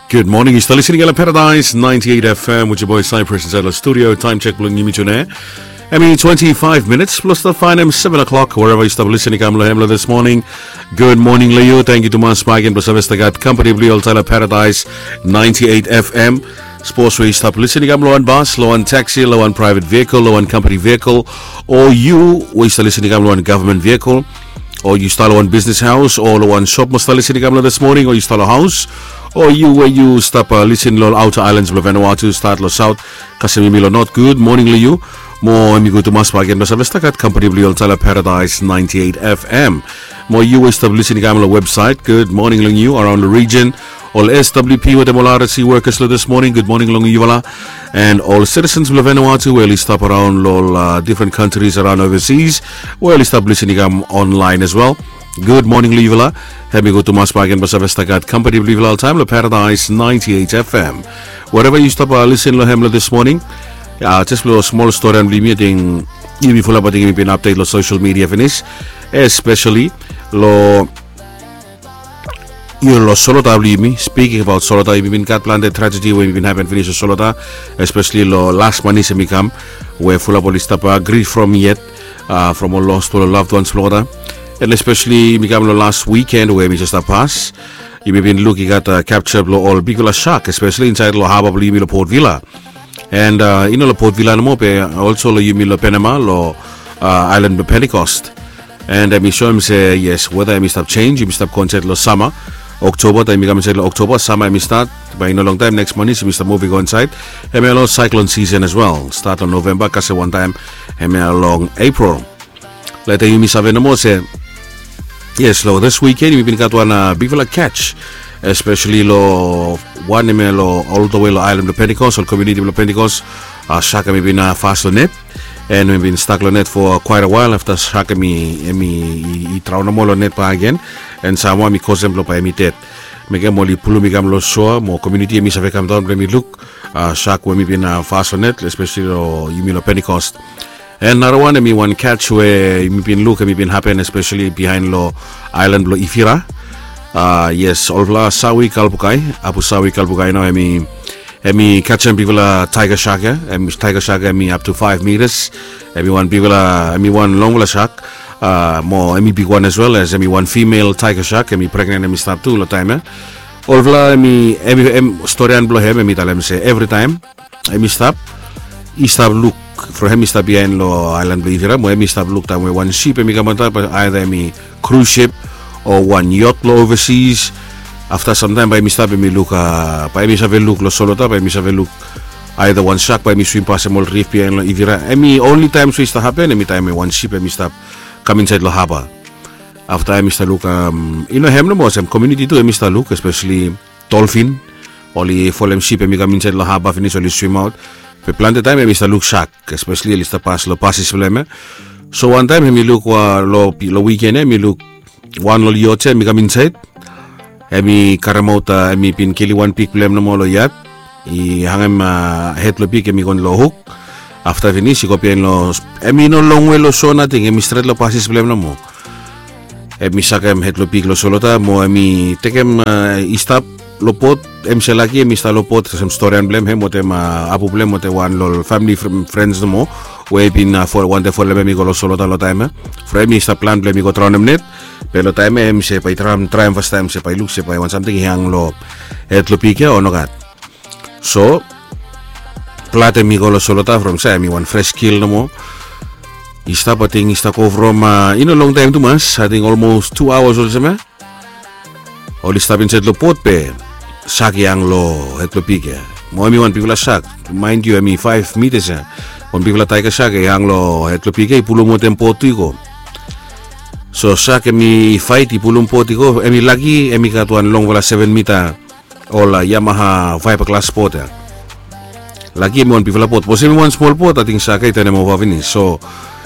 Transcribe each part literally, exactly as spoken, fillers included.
Good morning. Yu stap listening lo Paradise ninety-eight F M with your boy Cypress inside the studio. Time check bilong yumi tune. Em i twenty-five minutes plus the fine em seven o'clock. Wherever yu stap listening kam lo hem lo this morning. Good morning lo yu. Thank you tumas bak gen blo save stap gat company blo yu oltaim lo Paradise ninety-eight F M. Sapos we yu stap listening kam lo wan bas, lo wan taxi, lo wan private vehicle, lo wan company vehicle, o yu we yu stap listening kam lo wan government vehicle, o yu stap lo wan business house, o lo wan shop mo stap listening kam lo this morning, o yu stap lo house, o yu we yu stap uh, listen lo outer islands blo Vanuatu, start lo south, kasem yumi lo north. Good morning lo yu. Mo em i go tumas bak gen blo save stap gat company blo yu oltaim lo Paradise ninety-eight F M. Mo yu we stap listening kam lo website, good morning long yu around the region. Ol S W P wetem ol R S C workers lo this morning, good morning long yufala. And ol citizens blo Vanuatu we oli stap around lo ol uh, different countries around overseas we oli stap listening kam online as well. Good morning lo yufala. Hem i go tumas bak gen blo save stap gat company blo yufala oltaim lo Paradise ninety-eight F M. Wherever yu stap uh, listen lo hem lo this morning. Uh, just lo small story blo yumi, ating yumi fulap ating yumi bin update lo social media finis, especially lo yu lo Solota blo yumi. Speaking about Solota, yumi bin gat planti tragedy we yumi bin happen finis lo Solota, especially lo last manis em i kam, we fulap oli stap uh, grief from yet, uh, from ol lost ol loved ones blo olgeta. And especially yumi kam lo last weekend we yumi just uh, pass, yumi bin luk i gat uh, capture blo ol bigfala shark, especially inside lo harbor blo yumi lo Port Vila. And uh, i no lo Port Vila nomo, be also lo yumi lo Panama, lo uh, island blo Pentecost. And em i soem se yes, weather em i stap change, yumi stap go insait lo sama. Oktoba, taem yumi kam insait lo Oktoba, sama em i stat. Bae i no longtaem next manis yumi stap muv i go insait. Hemia lo cyclone season as well, stat lo Novemba, kasem wantaem hemia long April. Leta yumi save nomo se yes, lo this weekend yumi bin gat wan uh, bigfala catch, especially lo wan hemia lo all the way lo island blo Pentecost, ol community blo Pentecost. Uh, shark em i bin uh, fast lo net, and em i bin stuck lo net for quite a while after shark em i em i, i, i traon nomo lo net bak again. And samua em i kosem blo bae em i ded. Mekem oli pulum i kam lo shore, mo community em i save kam daon blo em i luk uh, shark we em i bin uh, fast lo net, especially lo yumi lo Pentecost. And nara wan em i wan catch we yumi bin luk em i bin hapen especially bihaen lo island blo Ivira. Uh, yes, olfala sawi kalbukai, apu sawi kalbukai nao em i em i kajem bigfala tiger shark ya. Em tiger shark em i up to five meters. Em i wan bigfala, em i wan longfala shark. Uh, mo em i bigwan as well, as em i wan female tiger shark, em i pregnen, em i stap tu lo taem ya. Olfala em i em i em storian blo hem em i talem se evritaem em i stap i stap luk from hem i stap bihaen lo island blo Ivira, mo em i stap luk taem we wan sip em i kam antap, aida em i cruise ship o wan yacht lo overseas. Afta samtaem bae em i stap em i luk uh, bae em i save luk lo Solota, bae em i save luk aida wan shark bae em i swim pasem ol rif bihaen lo Ivira. Em i only taem so i stap hapen em i taem we wan sip em i stap kam insait lo harbor. Afta em i stap luk um, i no hem nomo, olsem community tu em i stap luk, especially dolphin. Oli folem sip em i kam insait lo harbor finis oli swim aot. Be plante taem em i stap luk shark, especially oli stap pas lo pasis blo hem ya. So wantaem em i luk uh, lo, lo weekend ya em i luk wan lo ol yacht ya em i kam insait. Em i karemaot uh, em i bin kilim wan pig blo hem nomo lo yat. I hangem uh, hed lo pig em i go lo huk. Afta finis i go bihaen lo, em i no longwe lo shore nating, em i stret lo pasis blo hem nomo. Em i sakem hed lo pig lo Solota mo em i tekem uh, i stap lo bot. Em se laki em i stap lo bot, olsem storian blo hem, hem wetem uh, apu blo hem wetem wan lo ol famili frens nomo we i bin uh, wantem folem hem i go lo Solota lo taem ya. From em i stap plan blo hem i go traonem net. Be lo taem ya em se bae i traem traem fastaem se bae i luk se bae wan samting i hang lo hed lo pig ya o nogat. So blad em i go lo Solota from sa em i wan fres kil nomo. I stap ating i stap go from uh, i no longtaem tumas, ating olmos tu aoas olsem ya. Oli stap insait lo bot be shark i hang lo hed lo pig ya. Mo em i wan bigfala shark, mind yu em i five meters ya. Wan bigfala tiger shark i hang lo hed lo pig ya, i pulum wetem bot tu i go. So shark em i fait i pulum bot i go, em i laki em i gat wan longfala seven meter ol uh, Yamaha fiberglass bot ya. Laki em i wan bigfala bot, sapos em i wan smol bot ating shark ya i tanem ova finis. So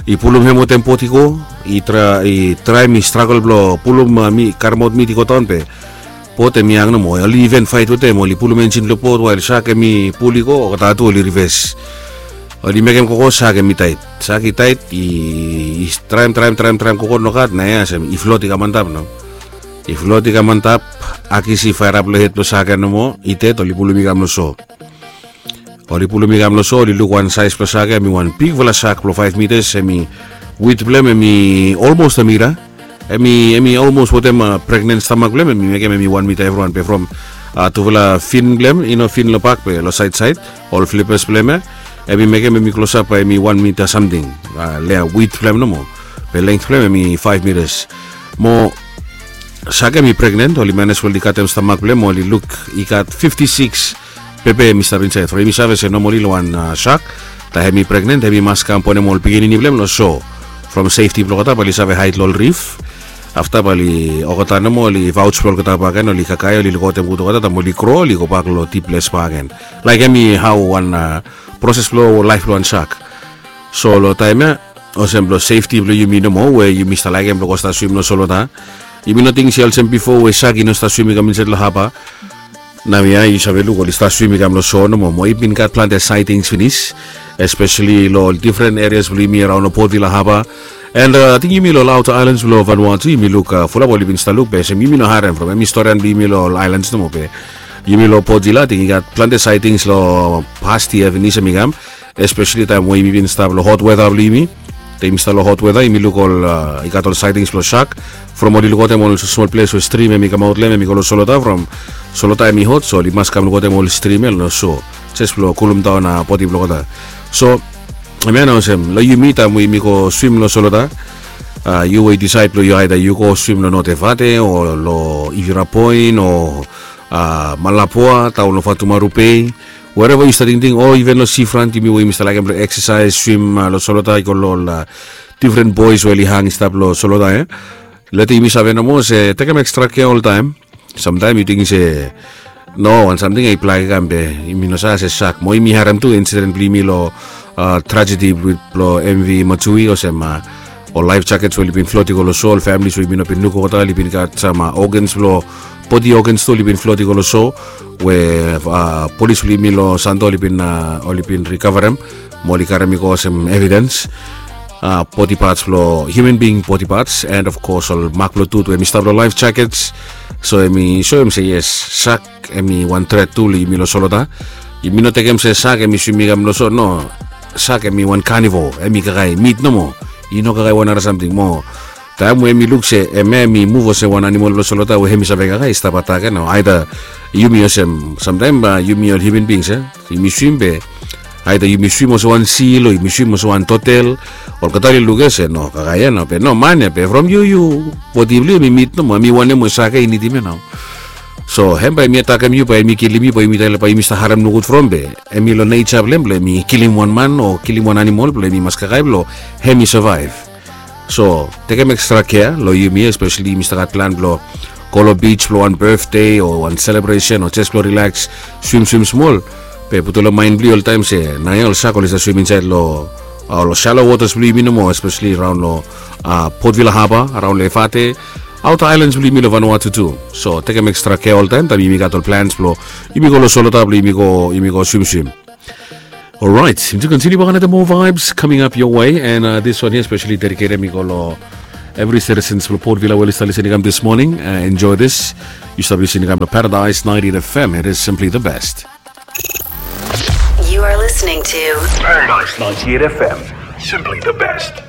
i pulum hem wetem bot i go, i traem i stragol blo pulum uh, karemaot mit i go daon be bot em i hang nomo. Oli iven fait wetem, oli pulum enjin blo bot wael shark em i pul i go, olgeta tu oli rives. Oli mekem gogo, shark em i taet. Shark i taet, i traem traem traem traem gogo nogat, na ya olsem i flot i kam antap nao. I flot i kam antap, akisi faerap long hed blong sak ya nomo, i ded, oli pulum i kam long so. Oli pulum i kam long so, oli luk wan saes blong sak ya, hemi wan bigfala sak blong faef mitas, hemi wit blong hem hemi olmos a mita. Hemi hemi olmos wetem pregnen stamak blong hem, hemi mekem hemi wan mita evriwan be from tufala fin blong hem, i no fin long bak be long saed saed, ol flipas blong hem ya, hemi mekem hemi klosap bae hemi wan mita samting. Lea wit blong hem nomo, be length blong hem hemi faef mitas. Mo sak ya hemi pregnen, oli manes we oli katem stamak blong hem, oli luk i gat fifti sikis pepe hemi stap insaed. From yumi save se nomali long wan sak, taem hemi pregnen hemi mas kam bonem ol pikinini blong hem long so. From sefti blong olgeta bae oli save haed long ol rif. Afta bae oli olgeta nomo oli vaoj blong olgeta bakegen, oli kakae, oli lukaotem gud olgeta, taem oli gro oli gobak long dip ples bakegen. Laek hemi hao wan proses blong laef blong wan sak. So long taem ya, olsem blong sefti blong yumi nomo we yumi stap laekem blong go stap swim long solwota, yumi no ting se olsem bifo we sak i no stap swim i kam insaed long haba. Naoia yu save luk oli stap swim i kam long so nomo, mo i bin gat plante saetings finis, espeseli long ol difren erias blong yumi araon long Port Vila haba. And ating yumi long ol aota aelans blong Vanuatu, yumi luk fulap oli bin stap luk, be olsem yumi no harem from hemi storian blong yumi long ol aelans nomo, be yumi long Port Vila ating i gat plante saetings long pas yia finis hemi kam, espeseli taem we yumi bin stap long hot weta blong yumi. Taem yumi stap long hot weta yumi luk ol, i gat ol saetings blong sak. From oli lukaotem ol smol ples we strim hemi kamaot long hem hemi go long solwota, from solwota hemi hot, so oli mas kam lukaotem ol strim ya long so, jes blong kulumdaon bodi blong olgeta. So hemia nao olsem long yumi taem we yumi go swim long solwota, yu we yu disaed blong yu aeda yu go swim long North Efate o long Ivirapoin o Malapua daon long Fatumaru Bay, wereva yu stap tingting, o iven long sifrant, yumi we yumi stap laekem blong eksasaes, swim long solwota, i go long ol difren boes we oli hang i stap long solwota ya. Leta yumi save nomo se tekem ekstra kea oltaem. Samtaem yu ting se no wan samting ya i blak i kam be yumi no save se sak. Mo yumi harem tu insiden blong yumi long trajedi blong MV Matsui, olsem ol laef jakets we oli bin flot i go long so, ol familis we yumi no bin luk olgeta, oli bin gat sam ogans blong, bodi ogans tu oli bin flot i go long so, we polis blong yumi long Santo oli bin, oli bin rikavarem mo oli karem i go olsem evidens, bodi pats blong hiuman bing bodi pats, and of kos ol mak blong tut we hemi stap long laef jakets. So hemi soem se yes, sak hemi wan tret tu long yumi long solwota. Yumi no tekem se sak hemi swim i kam long so, no. Sak hemi wan kanivo, hemi kakae mit nomo. I no kakae wan nara samting mo. Taem we hemi luk se hemia hemi muv olsem wan anamol blong solwota we hemi save kakae, i stap atak ya nao. Aeda yumi olsem samtaem bae yumi ol hiuman bings ya, yumi swim be aeda yumi swim olsem wan sil o yumi swim olsem wan totel, olgeta oli luk ya se no, kakae ya nao, be no, man ya be from yu, yu bodi blong yu hemi mit nomo, hemi wanem we sak ya i nidim ya nao. So hem bae hemi atakem yu, bae hemi kilim yu, bae yumi talem bae yumi stap harem nogud from, be hemi long neja blong hem blong hemi kilim wan man o kilim wan anamol blong hemi mas kakae blong hemi savaev. So tekem ekstra kea long yumi, espeseli yumi stap gat plan blong go long bij blong wan betde o wan selebresen o jes blong rilaks, swimswim smol. Be putum long maen blong yu oltaem se naoia ol sak oli stap swim insaed long ol shallow waters blong yumi nomo, espeseli raon long Port Vila Haba, raon long Efate, aota aelans blong yumi long Vanuatu tu. So tekem ekstra kea oltaem taem yumi gat ol plans blong yumi go long solwota blong yumi go, yumi go swimswim. Alright, yumi tu kontiniu bak another more vibes coming up your way, and uh, this one here especially dedicated mi go long evri citizens blong Port Vila we oli stap lisin i kam this morning. Uh, enjoy this. Yu stap lisin i kam long Paradise ninety-eight F M. It is simply the best. You are listening to Paradise ninety-eight F M. Simply the best.